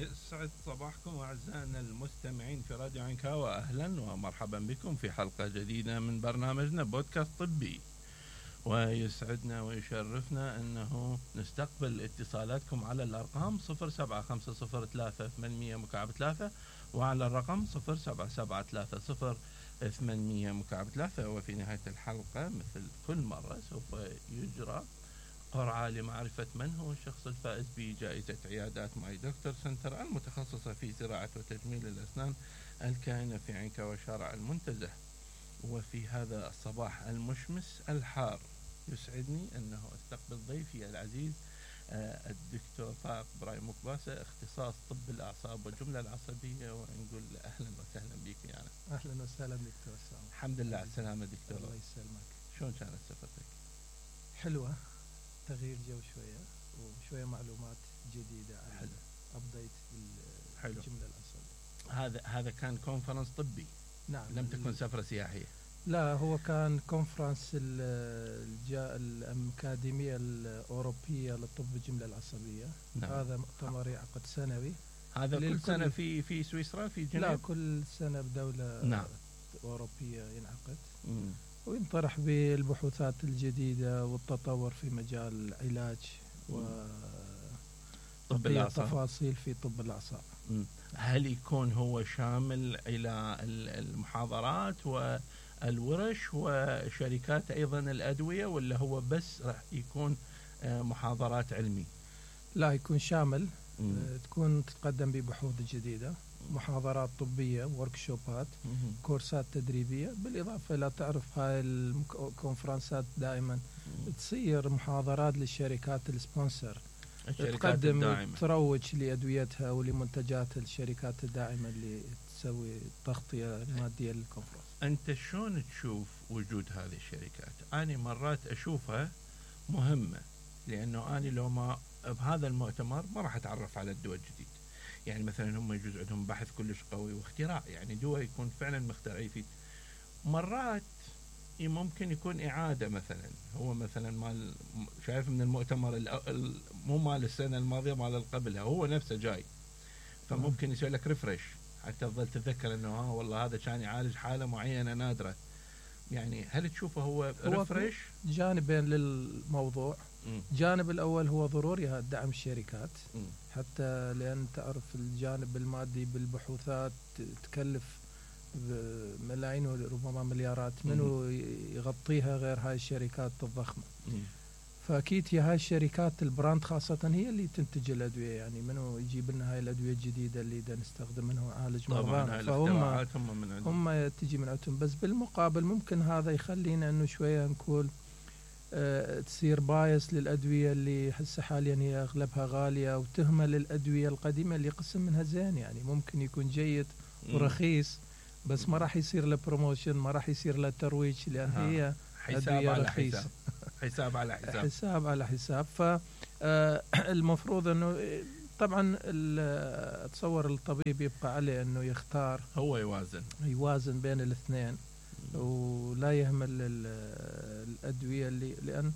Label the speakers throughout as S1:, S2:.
S1: يسعد صباحكم أعزائنا المستمعين في راديو عنكاوة. أهلا ومرحبا بكم في حلقة جديدة من برنامجنا بودكاست طبي. ويسعدنا ويشرفنا أنه نستقبل اتصالاتكم على الأرقام 07503 وعلى الرقم 07730 وفي نهاية الحلقة مثل كل مرة سوف يجرى قرعة لمعرفة من هو الشخص الفائز بجائزة عيادات ماي دكتور سنتر المتخصصة في زراعة وتجميل الأسنان الكائنة في عنكاوة شارع المنتزه. وفي هذا الصباح المشمس الحار يسعدني أنه أستقبل ضيفي العزيز الدكتور طارق برايم مكباسة، اختصاص طب الأعصاب والجملة العصبية، ونقول أهلا وسهلا بك يعني.
S2: أهلا وسهلا دكتور سامي.
S1: الحمد لله على السلامة دكتور.
S2: الله يسلمك.
S1: شلون كانت سفرتك؟
S2: حلوة، تغيير جو شوية وشوية معلومات جديدة عن أبديت بالجملة العصبية.
S1: هذا كان كونفرنس طبي؟
S2: نعم.
S1: لم تكن سفرة سياحية؟
S2: لا، هو كان كونفرنس الأكاديمية الأوروبية للطب الجملة العصبية.
S1: نعم.
S2: هذا مؤتمر يعقد سنوي.
S1: هذا كل سنة في سويسرا في جنيف؟
S2: لا، كل سنة بدولة
S1: نعم.
S2: أوروبية ينعقد.
S1: مم.
S2: وينطرح بالبحوثات الجديدة والتطور في مجال العلاج
S1: طب الأعصاب،
S2: تفاصيل في طب الأعصاب.
S1: هل يكون هو شامل إلى المحاضرات والورش وشركات أيضا الأدوية، ولا هو بس راح يكون محاضرات علمي؟
S2: لا، يكون شامل. تكون تتقدم ببحوث جديدة، محاضرات طبية، وركشوبات، كورسات تدريبية، بالإضافة إلى تعرف هاي الكونفرنسات دائما تصير محاضرات للشركات السبونسر، تقدم تروج لأدويتها ولمنتجات الشركات الداعمة اللي تسوي تغطية مادية للكونفرنس.
S1: أنت شلون تشوف وجود هذه الشركات؟ أنا مرات أشوفها مهمة، لأنه أنا لو ما بهذا المؤتمر ما راح أتعرف على الدواء الجديد. يعني مثلا هم يجوز عندهم بحث كلش قوي واختراع، يعني دواء يكون فعلا مخترع فيه. مرات ممكن يكون إعادة، مثلا هو مثلا مال شايف من المؤتمر مو مال السنة الماضية، مال قبلها، هو نفسه جاي، فممكن يسوي لك ريفرش حتى تظل تتذكر انه والله هذا كان يعالج حالة معينة نادرة. يعني هل تشوفه هو ريفرش؟
S2: جانبين للموضوع. جانب الأول هو ضروري دعم الشركات، حتى لأن تعرف الجانب المادي بالبحوثات تكلف ملايين وربما مليارات، منو يغطيها غير هاي الشركات الضخمة. فأكيد هي هاي الشركات البراند خاصة هي اللي تنتج الأدوية، يعني منو يجيب لنا هاي الأدوية الجديدة اللي دا نستخدم منها نعالج مرضانا، فهم تجي من عندهم. بس بالمقابل ممكن هذا يخلينا أنه شوية نقول تصير بايس للأدوية اللي هسه حاليا هي أغلبها غالية، وتهمل الأدوية القديمة اللي قسم منها زين، يعني ممكن يكون جيد ورخيص بس ما راح يصير له بروموشن، ما راح يصير له ترويج، لأن هي أدوية رخيصة.
S1: حساب على حساب.
S2: حساب على حساب. فالمفروض أنه طبعا أتصور الطبيب يبقى عليه أنه يختار،
S1: هو يوازن
S2: بين الاثنين، ولا يهمل الأدوية اللي لأن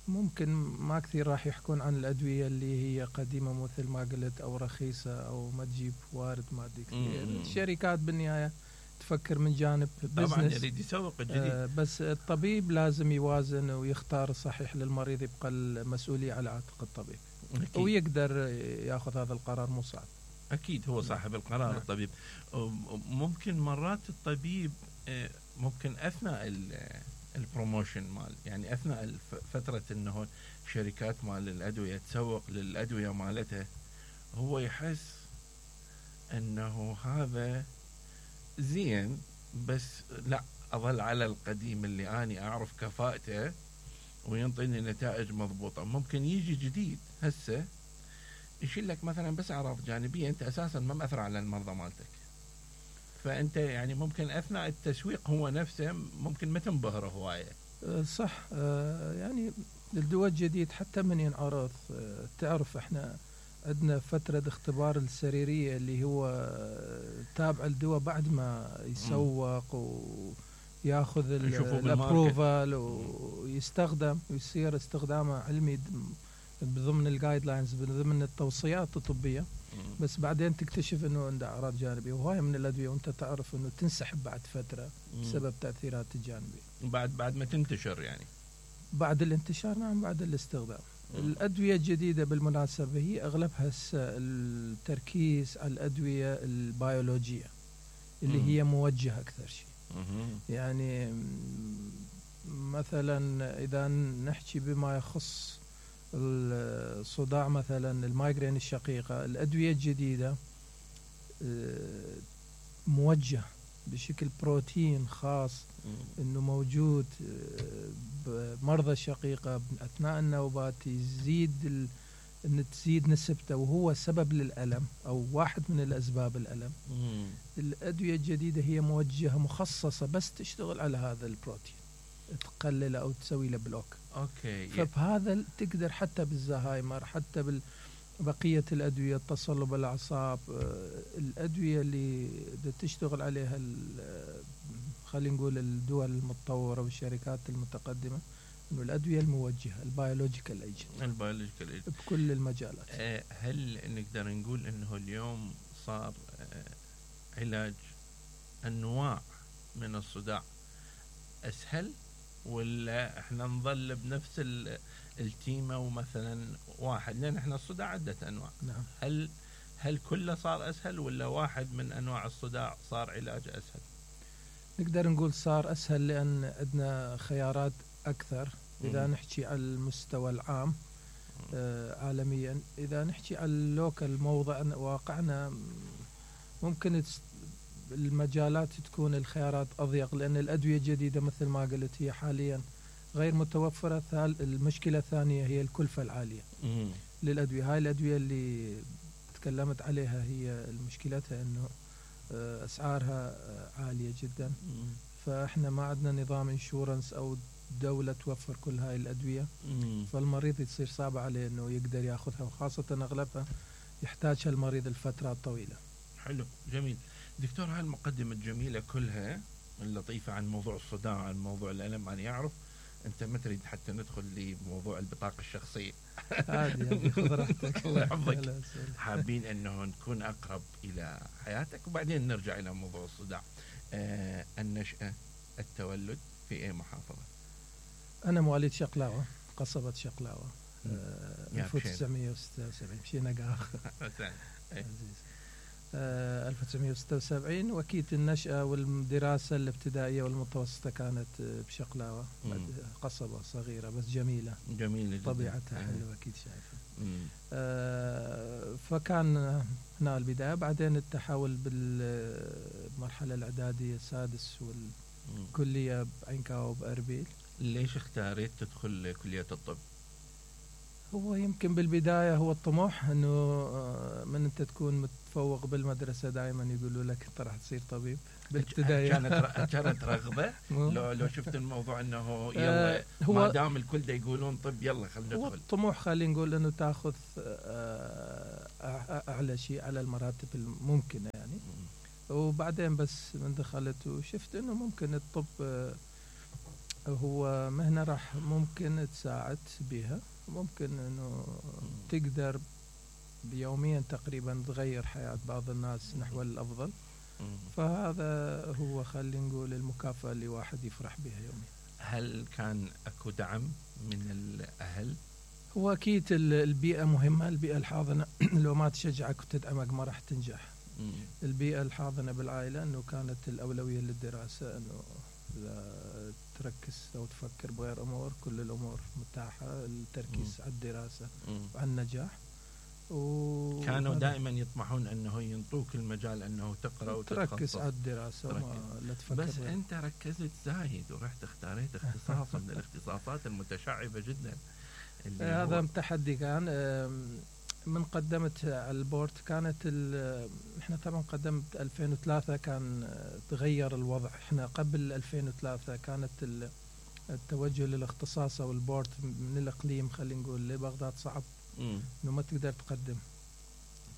S2: ممكن ما كثير راح يحكون عن الأدوية اللي هي قديمة مثل ما قلت أو رخيصة أو ما تجيب وارد مادي كثير. الشركات بالنهاية تفكر من جانب بزنس،
S1: طبعا يريد يسوق الجديد.
S2: بس الطبيب لازم يوازن ويختار الصحيح للمريض، يبقى المسؤولية على عاتق الطبيب. أكيد. ويقدر ياخذ هذا القرار، مو صعب.
S1: أكيد هو صاحب القرار. نعم. الطبيب ممكن مرات الطبيب ممكن أثناء البروموشن مال، يعني أثناء فترة أنه شركات مال الأدوية تسوق للأدوية مالتها، هو يحس أنه هذا زين، بس لا أظل على القديم اللي أنا أعرف كفاءته وينطيني نتائج مضبوطة. ممكن يجي جديد هسه يشيل لك مثلا بس أعراض جانبية أنت أساسا ما مأثر على المرضى مالتك، فأنت يعني ممكن أثناء التسويق هو نفسه ممكن ما تنبهره هواية.
S2: صح. يعني الدواء الجديد حتى من ينعرض، تعرف احنا عندنا فترة اختبار السريرية اللي هو تابع الدواء بعد ما يسوق وياخذ الابروفال ويستخدم ويصير استخدامه علمي بضمن الجايد لاينز، بضمن التوصيات الطبيه، بس بعدين تكتشف انه عنده اعراض جانبيه، وهاي من الادويه وانت تعرف انه تنسحب بعد فتره بسبب تاثيرات الجانبيه.
S1: بعد ما تنتشر يعني.
S2: بعد الانتشار، نعم، بعد الاستخدام. الادويه الجديده بالمناسبه هي اغلبها التركيز على الادويه البيولوجيه اللي هي موجهه اكثر شيء. يعني مثلا اذا نحكي بما يخص الصداع مثلا المايجرين الشقيقة، الأدوية الجديدة موجه بشكل بروتين خاص انه موجود بمرضى الشقيقة أثناء النوبات، يزيد ان تزيد نسبته، وهو سبب للألم او واحد من الاسباب الألم. الأدوية الجديدة هي موجهة مخصصة بس تشتغل على هذا البروتين، تقلله او تسوي له بلوك.
S1: اوكي.
S2: فبهذا تقدر حتى بالزهايمر، حتى بقية الأدوية، تصلب الأعصاب، الأدوية اللي تشتغل عليها خلينا نقول الدول المتطورة والشركات المتقدمة، إنه الأدوية الموجهة البيولوجيكال ايجنت بكل المجالات.
S1: هل نقدر نقول إنه اليوم صار علاج أنواع من الصداع أسهل، ولا احنا نظل بنفس التيمة ومثلا واحد، لان احنا الصداع عدة انواع؟
S2: نعم.
S1: هل كله صار اسهل، ولا واحد من انواع الصداع صار علاج اسهل؟
S2: نقدر نقول صار اسهل لان عندنا خيارات اكثر اذا نحكي على المستوى العام عالميا. اذا نحكي على اللوكال موضع واقعنا، ممكن المجالات تكون الخيارات أضيق، لأن الأدوية الجديدة مثل ما قلت هي حاليا غير متوفرة. المشكلة الثانية هي الكلفة العالية للأدوية. هاي الأدوية اللي تكلمت عليها هي مشكلتها أنه أسعارها عالية جدا، فإحنا ما عندنا نظام انشورنس أو دولة توفر كل هاي الأدوية، فالمريض يصير صعب عليه أنه يقدر يأخذها، وخاصة أغلبها يحتاجها المريض الفترة طويلة.
S1: حلو، جميل دكتور. هاي المقدمة الجميلة كلها اللطيفة عن موضوع الصداع، عن موضوع الألم، أنا يعرف أنت ما تريد حتى ندخل لموضوع البطاقة الشخصية.
S2: عادي، خذ راحتك.
S1: الله يحفظك. حابين أنه نكون أقرب إلى حياتك، وبعدين نرجع إلى موضوع الصداع. النشأة، التولد في أي محافظة؟
S2: أنا مواليد شقلاوة، قصبة شقلاوة، 1976. مشينا قاخ. 1976. وأكيد النشأة والدراسة الابتدائية والمتوسطة كانت بشقلاوة، قصبة صغيرة بس جميلة طبيعتها حلوة، أكيد شايفة. فكان هنا البداية، بعدين التحول بالمرحلة الإعدادية السادس والكلية بعينكاو بأربيل.
S1: ليش اختاريت تدخل كلية الطب؟
S2: هو يمكن بالبداية هو الطموح، انه من انت تكون متفوق بالمدرسة دائما يقولوا لك انت راح تصير طبيب بالابتدائية.
S1: كانت رغبة؟ لو شفت الموضوع انه يلا ما دام الكل دا يقولون طب يلا خلينا ندخل.
S2: هو الطموح خلينا نقول انه تاخذ اعلى شيء على المراتب الممكنة يعني. وبعدين بس من دخلت وشفت انه ممكن الطب هو مهنة راح ممكن تساعد بها، ممكن انه تقدر بيوميا تقريبا تغير حياة بعض الناس نحو الافضل. فهذا هو خلينا نقول المكافأة اللي واحد يفرح بها يوميا.
S1: هل كان اكو دعم من الاهل؟
S2: هو اكيد البيئة مهمة، البيئة الحاضنة لو ما تشجعك وتدعمك ما راح تنجح. البيئة الحاضنة بالعائلة انه كانت الاولوية للدراسة، انه لا تركز أو تفكر بغير أمور، كل الأمور متاحة، التركيز على الدراسة وعلى النجاح.
S1: كانوا دائما يطمحون أنه ينطوك المجال أنه تقرأ وتتخصص،
S2: تركز على الدراسة ولا تفكر
S1: بس أنت ركزت زايد ورحت اختاريت اختصاص من الاختصاصات المتشعبة جدا.
S2: هذا تحدي كان. من قدمت على البورد كانت احنا طبعا قدمت 2003 كان تغير الوضع. احنا قبل 2003 كانت التوجه للاختصاص او البورد من الاقليم خلينا نقول لبغداد صعب انه ما تقدر تقدم،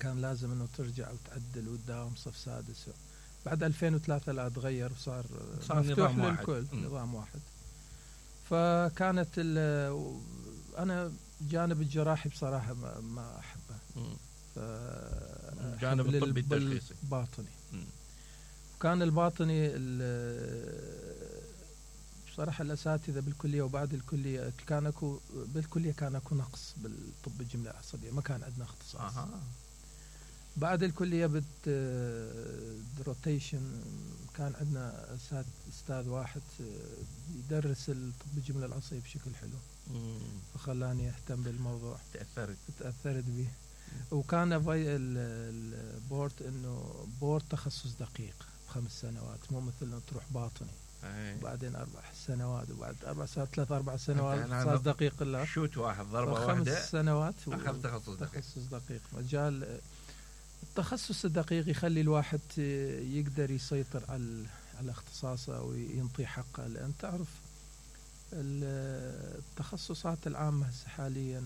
S2: كان لازم انه ترجع وتعدل وتداوم صف سادس. بعد 2003 لا تغير وصار مفتوح للكل، نظام واحد. فكانت انا الجانب الجراحي بصراحة ما أحبه.
S1: الجانب الطبي التشخيصي
S2: باطني. كان الباطني بصراحة الأساتذة بالكلية وبعد الكلية كان اكو نقص بالطب الجملة العصبية، ما كان عندنا اختصاص. بعد الكلية روتيشن كان عندنا أستاذ واحد يدرس الطب الجملة العصبية بشكل حلو، فخلاني أهتم بالموضوع. تأثرت به. وكان البورد إنه بورد تخصص دقيق 5 سنوات، مو مثل إنه تروح باطني بعدين 4 سنوات وبعد 4 سنوات 3-4 سنوات صار دقيق. لا
S1: شوت واحد ضربة واحدة
S2: 5 سنوات
S1: أخذ تخصص
S2: دقيق. مجال التخصص الدقيق يخلي الواحد يقدر يسيطر على اختصاصه وينطي حقه، لأن تعرف التخصصات العامة حاليا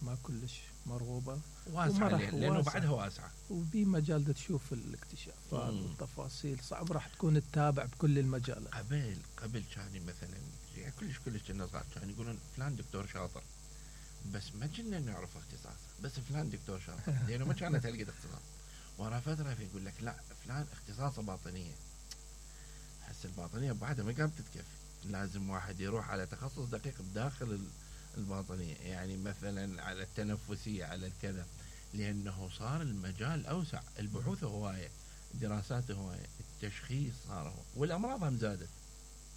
S2: ما كلش مرغوبة،
S1: واسعة لأنه بعدها واسعة،
S2: وبي مجال تشوف الاكتشافات والتفاصيل صعب راح تكون تتابع بكل المجالات.
S1: قبل كان مثلا يعني كلش كنا صغار كانوا يقولون فلان دكتور شاطر، بس ما كنا نعرف اختصاصه، بس فلان دكتور شاطر لأنه ما كانت هالقد اختصاص. ورا فترة يقول لك لا فلان اختصاصه باطنية. هسه الباطنية بعدها ما قامت تتكفي، لازم واحد يروح على تخصص دقيق بداخل الباطنية، يعني مثلا على التنفسية على الكذا، لأنه صار المجال أوسع، البحوث هواية، الدراسات هواية، التشخيص صار هو، والأمراض هم زادت.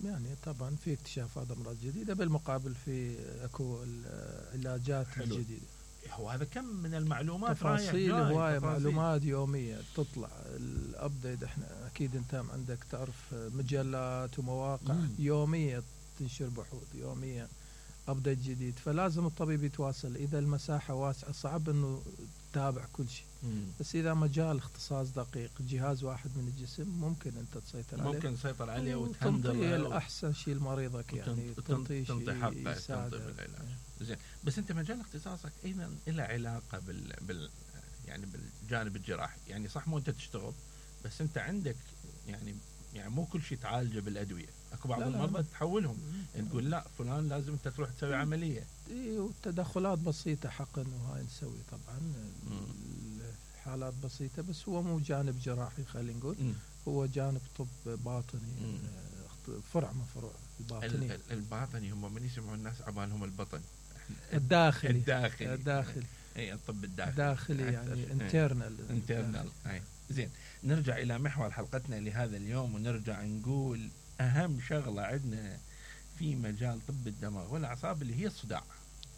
S2: يعني طبعا في اكتشافات أمراض جديدة، بالمقابل في أكو العلاجات الجديدة.
S1: وهذا كم من المعلومات،
S2: تفاصيل هواية، معلومات يومية تطلع الأبديت. احنا أكيد أنت عندك تعرف مجلات ومواقع يومية تنشر بحوث يومية أبديت جديد، فلازم الطبيب يتواصل. إذا المساحة واسعة صعب إنه تتابع كل شيء، بس إذا مجال اختصاص دقيق جهاز واحد من الجسم ممكن أنت تسيطر عليه وتنطي الأحسن شيء لمريضك، يعني تنطي
S1: حقه تنطي بالعلاج. زين، بس أنت مجال اختصاصك أيضا له علاقة يعني بالجانب الجراحي، يعني صح مو أنت تشتغل، بس أنت عندك يعني مو كل شيء تعالجه بالأدوية، اكو بعض المرضى تحولهم، يعني تقول لا فلان لازم انت تروح تسوي عملية.
S2: والتدخلات بسيطة حق انه هاي نسوي طبعا حالات بسيطة، بس هو مو جانب جراحي خلينا نقول، هو جانب طب باطني، فرع من فروع الباطني.
S1: الباطني هم من يسمعوا الناس عبالهم البطن
S2: الداخلي
S1: اي الطب الداخلي
S2: يعني انترنال.
S1: زين، نرجع إلى محور حلقتنا لهذا اليوم، ونرجع نقول أهم شغلة عندنا في مجال طب الدماغ والأعصاب اللي هي الصداع.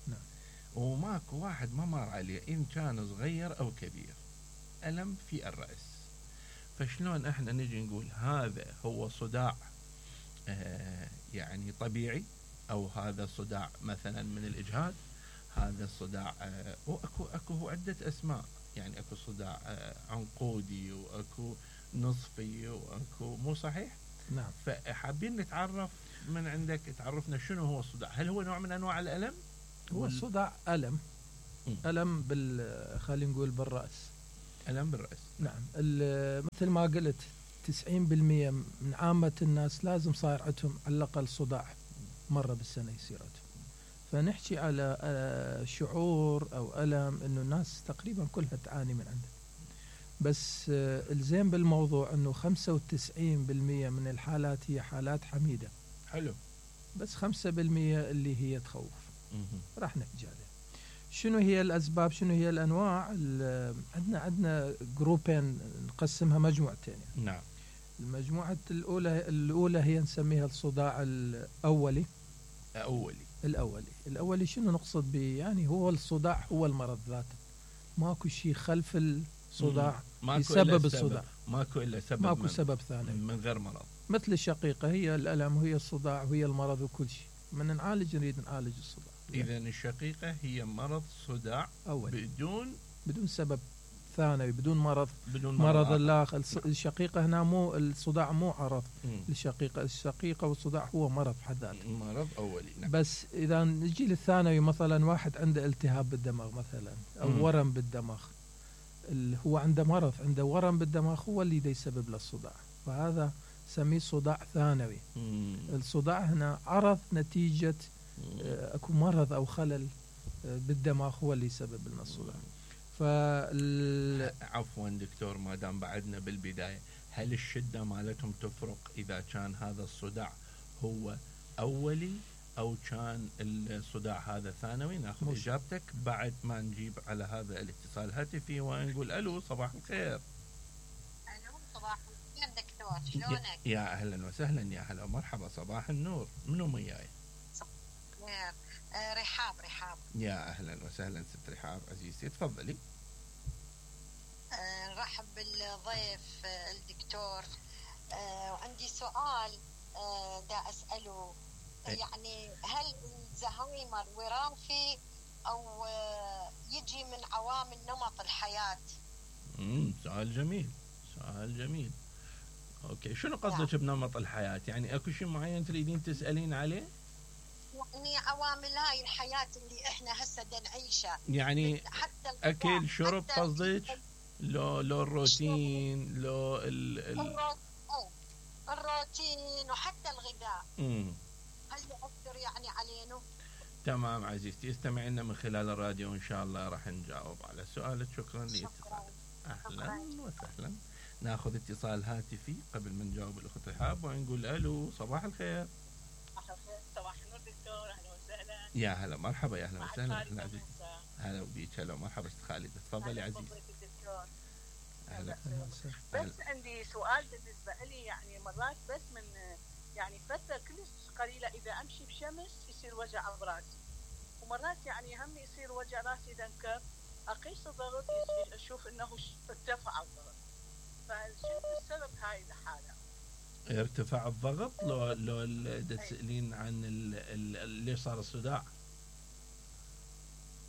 S2: نعم.
S1: وماكو واحد ما مر عليه إن كان صغير أو كبير ألم في الرأس. فشلون إحنا نجي نقول هذا هو صداع يعني طبيعي، أو هذا صداع مثلا من الإجهاد، هذا الصداع وأكو عدة أسماء، يعني أكو صداع عنقودي وأكو نصفي وأكو مو صحيح؟
S2: نعم.
S1: فحابين نتعرف من عندك، تعرفنا شنو هو الصداع. هل هو نوع من أنواع الألم؟
S2: هو الصداع ألم خلينا نقول بالرأس.
S1: ألم بالرأس.
S2: نعم. مثل ما قلت 90% من عامة الناس لازم صاير عندهم على الأقل صداع مرة بالسنة يصير عندهم. فنحكي على شعور أو ألم إنه الناس تقريبا كلها تعاني من عنده، بس الزين بالموضوع إنه 95% من الحالات هي حالات حميدة.
S1: حلو.
S2: بس 5% اللي هي تخوف. راح نحكي عليها. شنو هي الأسباب؟ شنو هي الأنواع؟ عندنا جروبين نقسمها مجموعتين يعني.
S1: نعم.
S2: المجموعة الأولى هي نسميها الصداع الأولي. الأولي شنو نقصد به؟ يعني هو الصداع هو المرض ذاته، ماكو شيء خلف الصداع يسبب الصداع، ماكو سبب ثاني
S1: من غير مرض.
S2: مثل الشقيقة هي الألم وهي الصداع وهي المرض وكل شيء. من نريد نعالج الصداع.
S1: إذا الشقيقة هي مرض صداع أولي.
S2: بدون سبب ثانوي، بدون مرض الآخر. الشقيقة هنا مو الصداع مو عرض الشقيقة والصداع هو مرض بحد ذاته،
S1: مرض أولي. نعم.
S2: بس إذا نجي للثانوي مثلا واحد عنده التهاب بالدماغ مثلا أو ورم بالدماغ، هو عنده مرض، عنده ورم بالدماغ هو اللي يسبب له الصداع، فهذا سميه صداع ثانوي. الصداع هنا عرض نتيجة أكو مرض أو خلل بالدماغ هو اللي يسبب لنا الصداع.
S1: عفوا دكتور، ما دام بعدنا بالبداية، هل الشدة مالتهم تفرق إذا كان هذا الصداع هو أولي أو كان الصداع هذا ثانوي؟ ناخذ إجابتك بعد ما نجيب على هذا الاتصال الهاتفي ونقول ألو صباح الخير.
S3: ألو صباح الخير دكتور، شلونك؟
S1: يا أهلا وسهلا، يا هلا ومرحبا، صباح النور. منو وياي؟
S3: رحاب.
S1: يا أهلا وسهلا ست رحاب عزيزتي، تفضلي.
S3: نرحب بالضيف الدكتور. وعندي سؤال دا أسأله، يعني هل الزهايمر وراثي أو يجي من عوامل نمط الحياة؟
S1: سؤال جميل. اوكي، شنو قصدك بنمط الحياة؟ يعني اكو شيء معين تريدين تسألين عليه؟
S3: يعني عوامل هاي الحياة اللي احنا هسه نعيشها،
S1: يعني حتى اكل شرب قصدك؟ لو الروتين، لو
S3: الروتين وحتى الغذاء هل يؤثر يعني علينا؟
S1: تمام عزيزتي، استمعي لنا من خلال الراديو وان شاء الله راح نجاوب على سؤالك. شكرا لاتصالك. اهلا وسهلا. ناخذ اتصال هاتفي قبل ما نجاوب الاخت رحاب ونقول الو صباح الخير.
S4: صباح النور دكتور، اهلا وسهلا.
S1: يا هلا مرحبا، يا اهلا وسهلا. هلا بيك، هلا ومرحبا ست خالد، تفضلي عزيزي.
S4: اهلا. بس عندي سؤال بالنسبه لي، يعني مرات بس من يعني فتره كلش قليله اذا امشي بشمس يصير وجع براسي، ومرات يعني هم يصير وجع راسي اذا انكب، اقيس الضغط اشوف انه ارتفع الضغط، فشنو السبب هاي الحاله؟
S1: ارتفاع الضغط لو تسألين عن ليش صار الصداع؟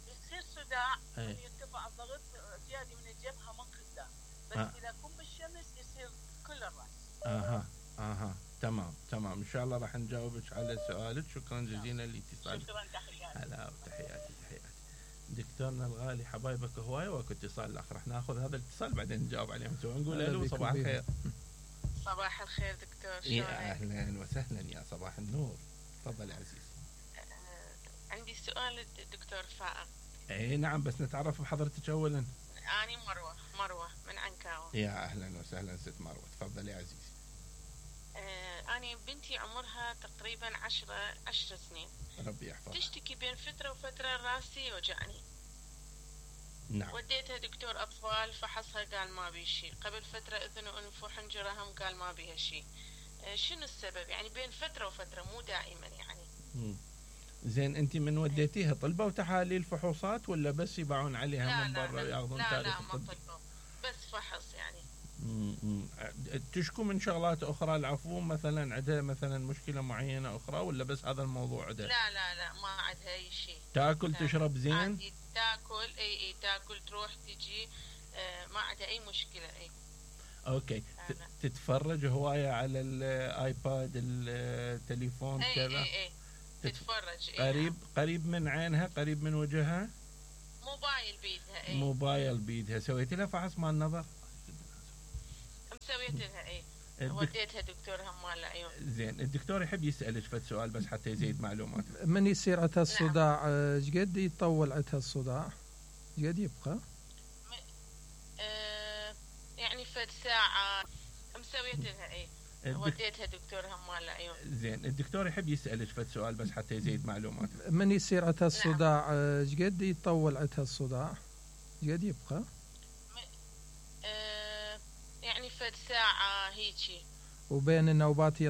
S4: يصير صداع يرتفع الضغط زياده من الجبهه من قدام، بس اذا اكون بالشمس يصير كل الراس.
S1: تمام ان شاء الله راح نجاوبك على سؤالك. شكرا جزيلا لاتصالك.
S4: شكرا، تحياتي.
S1: هلا وتحياتي. دكتورنا الغالي، حبايبك هواي، واكو اتصال الاخر راح ناخذ هذا الاتصال بعدين نجاوب عليهم سوا. نقول الو صباح الخير.
S5: صباح الخير دكتور، شلونك؟
S1: يا اهلا وسهلا، يا صباح النور. تفضل يا عزيز.
S5: عندي سؤال دكتور فائق.
S1: اي نعم، بس نتعرف بحضرتك اولا.
S5: اني مروه من عنكاوة.
S1: يا اهلا وسهلا ست مروه، تفضلي يا عزيزي.
S5: اني بنتي عمرها تقريبا 10 سنين.
S1: ربي يحفظها.
S5: تشتكي بين فتره وفتره راسي يوجعني.
S1: نعم.
S5: وديتها دكتور اطفال، فحصها قال ما بي شيء. قبل فتره اذن وانف وحنجره هم قال ما بيها شيء. شنو السبب؟ يعني بين فتره وفتره مو دائما يعني.
S1: زين، انت من وديتيها طلبوا تحاليل فحوصات ولا بس يباعون عليها من برا وياخذون تاريخ الطب؟
S5: لا ما طلبوا، بس فحص يعني.
S1: تشكو من شغلات اخرى العفو، مثلا عندها مثلا مشكله معينه اخرى ولا بس هذا الموضوع عندها؟
S5: لا ما عندها اي شيء.
S1: تاكل تشرب زين؟
S5: تاكل اي تاكل تروح تجي، ما عندها اي مشكله. اي
S1: اوكي. تتفرج هوايه على الايباد التليفون كذا؟
S5: اي تتفرج.
S1: قريب من عينها، قريب من وجهها؟
S5: موبايل بيدها.
S1: موبايل بيدها. سويتي لها فحص مال النظر؟
S5: سويت لها. وديتها دكتور هم مال العيون.
S1: زين، الدكتور يحب يسألك فد سؤال بس حتى يزيد معلومات.
S2: من يصير عندها الصداع ايش قد يطول عندها الصداع؟ ايش قد يبقى؟
S5: يعني فد ساعة. مسويت لها. وديتها دكتور هم مال العيون.
S1: زين، الدكتور يحب يسألك فد سؤال بس حتى يزيد معلومات.
S2: من يصير عندها الصداع ايش قد يطول عندها الصداع؟ ايش قد يبقى؟
S5: يعني فد ساعة هيجي.
S2: وبين النوبات